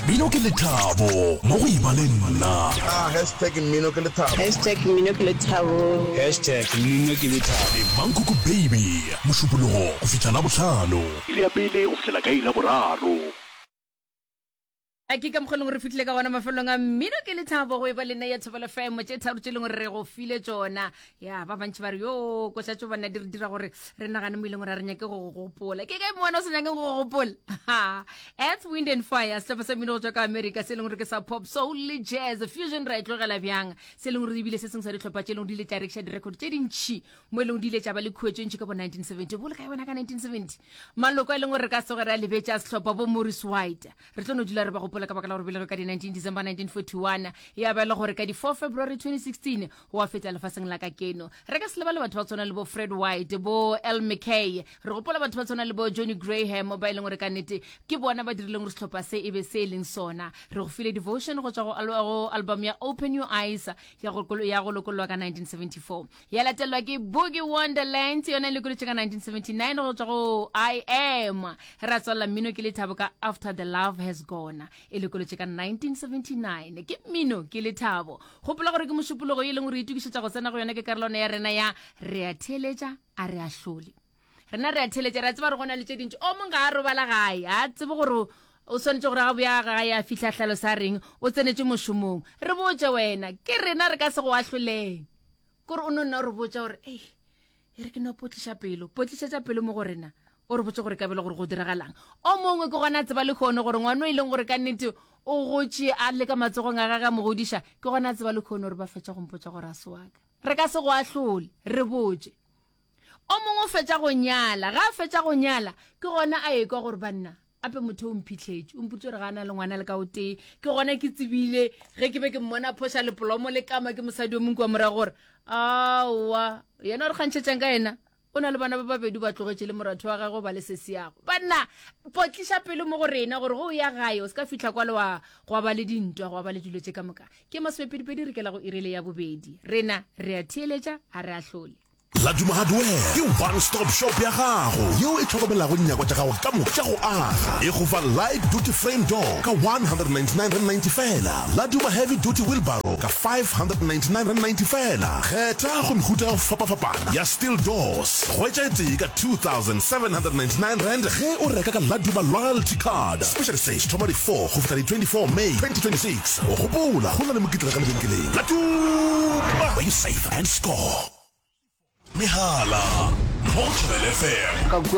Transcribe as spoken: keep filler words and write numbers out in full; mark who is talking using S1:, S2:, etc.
S1: Mmino ke lethabo mo go eba le nna.
S2: Ah, hashtag mmino ke lethabo.
S3: Hashtag mmino ke lethabo.
S4: Hashtag mmino ke lethabo.
S1: Le Mankoko Baby, Mošupologo go fihla Labohlano. Iri ya pele go fihlela ka iri ya boraro.
S5: A ke ka mokgwa e leng gore re fihlile ka gona mafelelong a mmino ke lethabo go e ba le nna ya Thobela F M tše tharo tše e leng gore re go file tšona. Ya ba bantši ba re yo koša tšo banna di re dira gore re nagane mo e leng gore a re nyake go go gopola. Ke kae mo wena o sa nyakeng go go gopola? Earth, Wind and Fire, sehlopha sa mmino go tšwa ka America se e leng gore ke sa pop, soul le jazz fusion, ra e tlogela bjang, se e leng gore ebile se sengwe sa dihlopha tše e leng gore di ile tša rekiša direkoto tše dintšhi mo e leng di ile tša ba le khuetšo ntši ka bo nineteen seventy. Bole kae wena ka nineteen seventy? Maloko a e leng gore re ka tsoge re a lebetše a sehlopha, bo Maurice White, re tlo no dula re ba gopola ka baka la gore belege ka di nineteen December nineteen forty-one, ya ba e le gore ka di four February twenty sixteen wa feta lefaseng la ka keno. Re ka se lebale batho ba tshwana le bo Fred White, bo El McKay. Re gopola batho ba tshwana le bo Johnny Graham ba e leng gore ka nnete ke bona ba dirileng gore sehlopha se e be se e leng sona. Re go file Devotion go tswa go al- go album ya Open Your Eyes ya go ya go lokollwa ka nineteen seventy-four, ya latelwa ke Boogie Wonderland, yona e lokolotše ka nineteen seventy-nine go tswa go I Am. Ra tswalela mmino ke lethabo ka After the Love Has Gone, e lokolotše ka nineteen seventy-nine. Ke mmino ke lethabo. Gopola gore ke Mošupologo e leng gore itokišetša go tsena go yona, ke karolwana ya rena ya re a theeletša a re ahlole. Rena re a theeletša, re a tseba gore go na le tše dintši. O mongwe ga a robala gae, a tsebe gore o swanetše gore ga boya gae a fihla hlalo sa reng o tsenetše mošomong. Re botše wena, ke rena re ka se go ahloleng, kore o no nna o re botša gore ei e re ke no potliša pelo, potlišetša pelo mo go rena, o re botse gore ka bele gore go diragalang. O mongwe ke gona a tseba le kgone gore ngwana o e leng gore ka nnete o gotše a le ka matsogong a gage a mo godiša, ke gona a tseba le kgone gore ba fetša go mpotša gore a se wa ka. Re ka se go ahlole, re botše. O mongwe o fetša go nyala, ga a fetša go nyala ke gona a ekwa gore banna ape motho o mphitlhetše, o mpotse gore ga a na le ngwana le ka o tee. Ke gona ke tsebile ge ke be ke mmona phoša lepolomo le kama ke mosadi o mongwe kwa morago gore aowa, yena o re kgantšhetšang ka yena o na le bana ba babedi, ba tlogetše le moratho wa gagwe ba le sesiago. Banna, potliša pelo mo go rena gore go o ya gae o se ka fihla kwa le wa gwa ba le dintwa, gwa ba le dilo tše ka moka. Ke masomepedipedi re kela go irele ya bobedi. Rena re a theeletša a re ahlole.
S1: Laduma Hardware ke one stop shop ya gago yeo e hlokomelago dinyakwa tša gago ka moka tša go aga. E go fa light duty frame door ka one hundred ninety-nine rand ninety fela, Laduma heavy duty wheelbarrow ka five hundred ninety-nine rand ninety fela. Kgetha go mehuta ya go fapafapana ya steel doors, hwetša e tee ka two thousand seven hundred ninety-nine rand ge o reka ka Laduma loyalty card. Special sale thoma di four go fihla di twenty-four May twenty twenty-six. O gopola go na le mokitlana ka lebenkeleng Laduma, where you save and score. Mehala mo go Thobela F M.
S6: Ka kua.